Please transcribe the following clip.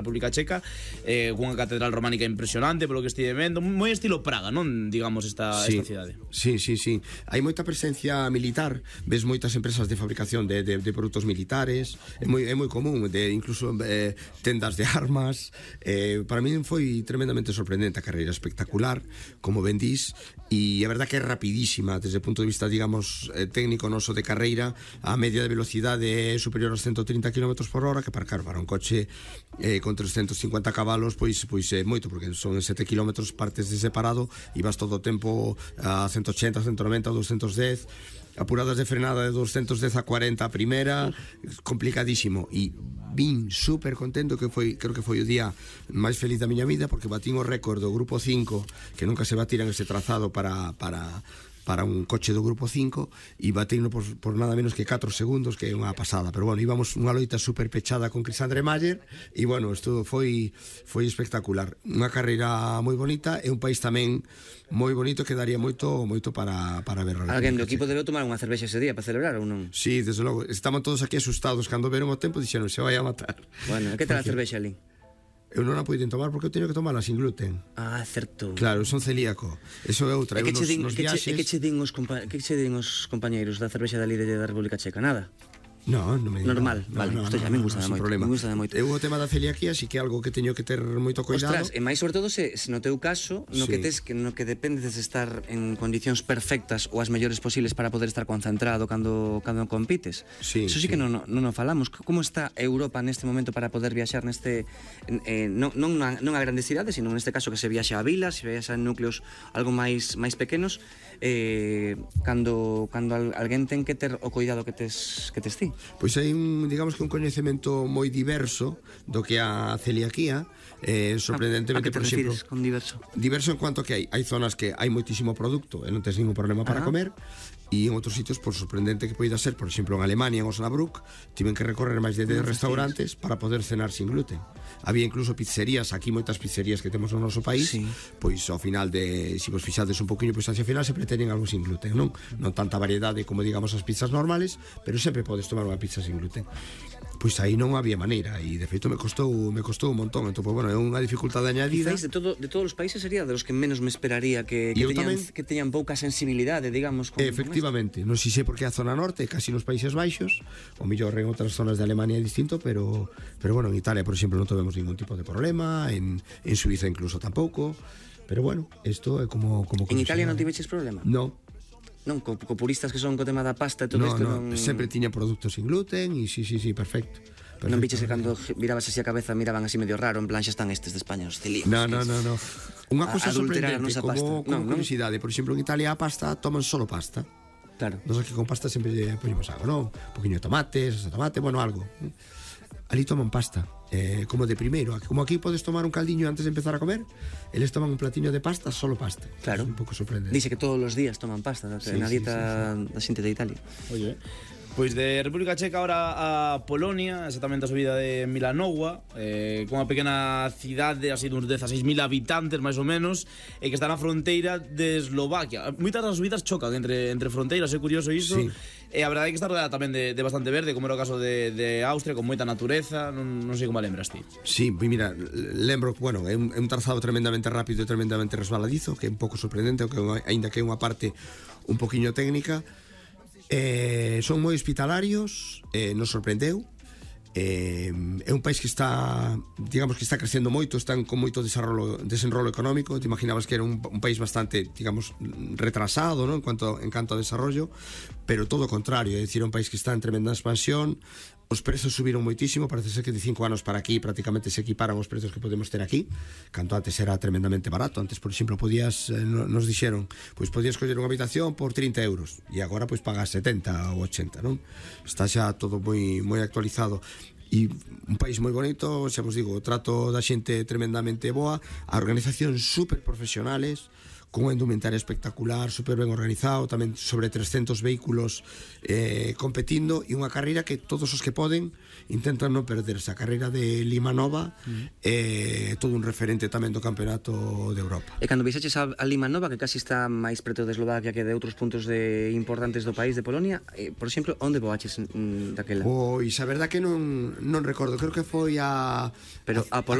República Checa, cunha catedral románica impresionante polo que estive vendo, moi estilo Praga, non? Digamos esta cidade. Sí. Hai moita presencia militar, ves moitas empresas de fabricación de produtos militares, é moi común, incluso tendas de armas. Para mí foi tremendamente sorprendente a carreira, espectacular, como ben dís, e a verdad que é rapidísima desde o punto de vista, digamos, técnico noso de carreira. A media de velocidade é superior aos 130 km por hora, que para un coche con 350 cabalos pois é moito, porque son 7 km partes de separado e vas todo o tempo a 180, 190, 210, apuradas de frenada de 210 a 40 a primeira, complicadísimo. E vin super contento, creo que foi o día máis feliz da miña vida, porque batín o récord do grupo 5, que nunca se batiran ese trazado para un coche do grupo 5, e bateino por nada menos que 4 segundos, que é unha pasada. Pero bueno, íbamos unha loita super pechada con Chris Andre Mayer, e bueno, isto foi espectacular, unha carreira moi bonita, e un país tamén moi bonito que daría moito para ver. Alguén do equipo debe tomar unha cervexa ese día para celebrar ou non? Sí, desde logo, estaban todos aquí asustados cando veron o tempo, dixeron, se vai a matar. Bueno, que tal a cervexa ali? Eu non a poiden tomar porque eu teño que tomala sin gluten. Ah, certo. Claro, son celíaco. Eso é outra. Que che din os compañeiros da cervexa da líder da República Checa? Nada? No, non me digo. Normal, vale. Isto a mí me gusta moito. Me gusta moito. Eu o tema da celiaquía sí que é algo que teño que ter moito cuidado. Ostras, e máis sobre todo se no teu caso, no que dependes de estar en condicións perfectas ou as mellores posibles para poder estar concentrado cando compites. Eso sí que non falamos. Como está Europa neste momento para poder viaxar neste non a grandes cidades, sino neste caso que se viaxa a vilas, se viaxa en núcleos algo máis pequenos, cando alguén ten que ter o cuidado que tes ti? Pois hai digamos que un coñecemento moi diverso do que a celiaquía, sorprendentemente. A que te refires con diverso? Diverso en cuanto que hai zonas que hai moitísimo produto e non tens ningún problema para comer, e en outros sitios, por sorprendente que poida ser, por exemplo, en Alemania, en Osnabrück, tiven que recorrer máis de 10 restaurantes para poder cenar sin gluten. Había incluso pizzerías, aquí moitas pizzerías que temos no noso país, pois ao final se vos fixades un poquinho, pois hacia final sempre teñen algo sin gluten, non tanta variedade como digamos as pizzas normales, pero sempre podes tomar unha pizza sin gluten. Pois aí non había maneira, e de feito me costou un montón. Entón, pois, bueno, é unha dificultade añadida. Quizás de todos os países sería de los que menos me esperaría que teñan pouca sensibilidade, digamos, efectivamente, non sei se porque a zona norte, casi nos Países Baixos, ou mellor en outras zonas de Alemania é distinto, pero bueno, en Italia, por exemplo, non tivemos ningún tipo de problema, en Suiza incluso tampouco, pero bueno, isto é como en Italia non tiveches problema? Non, co puristas que son co tema da pasta e todo isto non... sempre tiña produtos sin gluten e sí, perfecto. Non biches que cando mirabas así a cabeza miraban así medio raro, en plan xa están estes de España os celíacos? No. Unha cosa sorprendente, como curiosidade, por exemplo, en Italia a pasta toman solo pasta. Claro. Nos aquí con pasta sempre lle poñemos algo, non? Un poquinho de tomate, bueno, algo. Ali toman pasta, como de primeiro. Como aquí podes tomar un caldiño antes de empezar a comer, eles toman un platiño de pasta, solo pasta. Claro. É un pouco sorprendente. Dice que todos os días toman pasta na dieta da xente de Italia. Oye, pois de República Checa ahora a Polonia, exactamente a subida de Milanova, con unha pequena cidade así duns 16.000 habitantes máis ou menos, e que está na fronteira de Eslovaquia. Moitas das subidas chocan entre fronteiras, é curioso iso. E a verdade é que está rodeada tamén de bastante verde, como era o caso de Austria, con moita natureza. Non sei como a lembras ti. Sí, mira, lembro, bueno, é un trazado tremendamente rápido e tremendamente resbaladizo, que é un pouco sorprendente, aínda que é unha parte un poquinho técnica. Son moi hospitalarios, nos sorprendeu. É un país que está, digamos, que está crecendo moito, están con moito desenrolo económico. Te imaginabas que era un país bastante, digamos, retrasado, ¿no? en canto a desarrollo, pero todo o contrario, é dicir, un país que está en tremenda expansión. Os prezos subiron moitísimo, parece ser que de 5 anos para aquí prácticamente se equiparan os prezos que podemos ter aquí, canto antes era tremendamente barato. Antes, por exemplo, nos dixeron, pois podías coller unha habitación por 30 euros, e agora pois pagas 70 ou 80, non? Está xa todo moi actualizado. E un país moi bonito, xa vos digo, o trato da xente tremendamente boa, a organización super profesionales, cunha indumentaria espectacular, super ben organizado, tamén sobre 300 vehículos competindo, e unha carreira que todos os que poden intentan non perderse. A carreira de Lima Nova é todo un referente tamén do Campeonato de Europa. E cando viaxeches a Lima Nova, que casi está máis preto de Eslovaquia que de outros puntos importantes do país, de Polonia, por exemplo, onde voaches daquela? Pois a verdad que non recordo, creo que foi a... Pero a